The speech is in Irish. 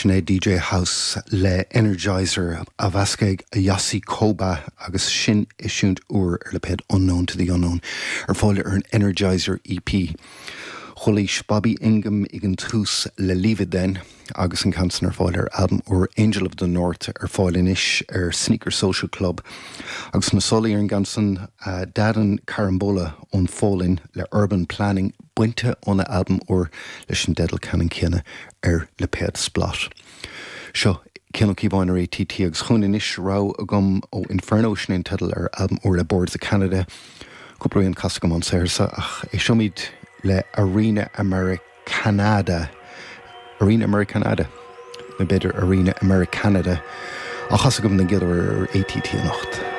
Sin é DJ House le Energizer á mheascadh ag Yossi Koba agus sin eisiúint úr ar lipéad Unknown to the Unknown ar fáil ar an Energizer EP. Chualaís Bobby Ingham ag an tús le Leave It Then agus an ceann san ar fáil ar albam úr Angel of the North ar fáil anois ar Sneaker Social Club. Agus na solaí ar an gceann san Darren Carambola ón Pholainn le Urban Planning bainte óna albam úr leis an dteideal ceannann céanna ar lipéad Splott. Seo Cian Ó Cíobháin ar ATT agus chugainn anois rogha agam ó Inferno, sin é an teideal ar albam úr le Boards of Canada. Cúpla rian casta agam ón saothar seo ach éisteoimid le Arena Americanada, Arena Americanada? Nó b'fhéidir Arena Americanada á chasadh agam den gcéad uair ar ATT anocht.